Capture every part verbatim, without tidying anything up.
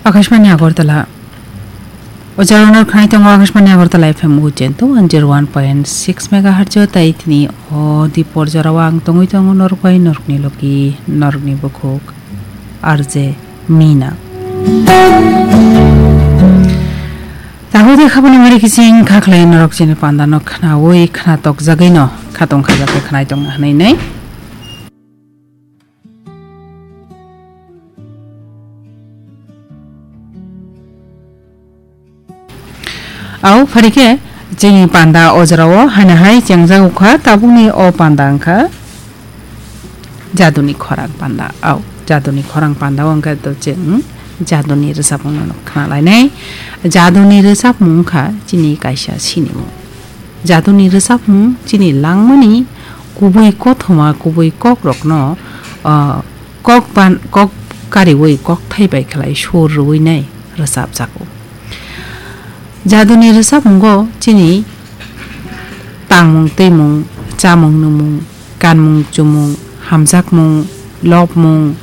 Akashbani Agartala. O jora norok khnai tongo Akashbani Agartala F M uchen to one zero one point six megahertz o, tai tini o dipor jorao ang tongwi tongo norok bai norokni logi, norokni bukhuk R J Mina. Tahu de khabani mari kising khaklai norok chini panda no khnawi khna tok jagwi no khatong khajak khe khnai tong hanai nai. Au, phari khe chini panda o jorao haino hai chengjago kha, tabukni o panda wngkha jaduni khorang panda. Au, jaduni khorang panda o wngkha to chwng jaduni rwchapmung no khna lainai. Jaduni rwchapmung wngkha chini kaisa sinimung. Jaduni rwchapmung chini langmani kubui kothoma, kubui kokrokno, ah, kok ban-, kok kariui kokthai bai khlai sur rwui nai rwchapjago. Jaduni rwchapmungo chini tangmung twimung, chamung nwngmung, kanmung chumung, hamjakmung, lobmung,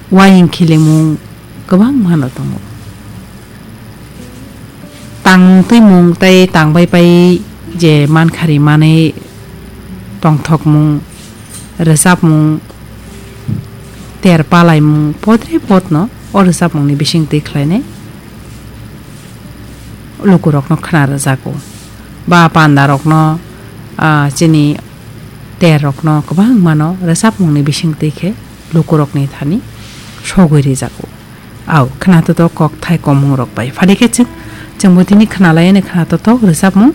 uaying khilimung kwbangmano tongo. Tangmung twimung tei tangbai pai je mankha ri manwi tongthokmung, rwchapmung, ter palaimung, podre podno o rwchapmungni bising twi khlainai lukurokno khna rwjago. Ba pandarokno, ah, chini terrokno kwbangmano rwchapmungni bising twi khe lukurokni thani sogwi rijago. Au, khna toto kokthai komungrok bai. Phari khe chwng, chwngbo tini khna laiano khna toto rwchapmung.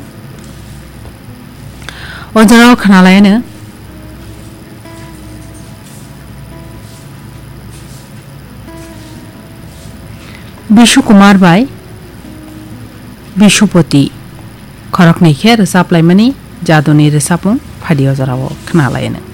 O jorao khna laiano Bishu Kumar bai Bishupati khoroknwi khe rwchap laimani jaduni rwchapmung phadi o jorao khna laino.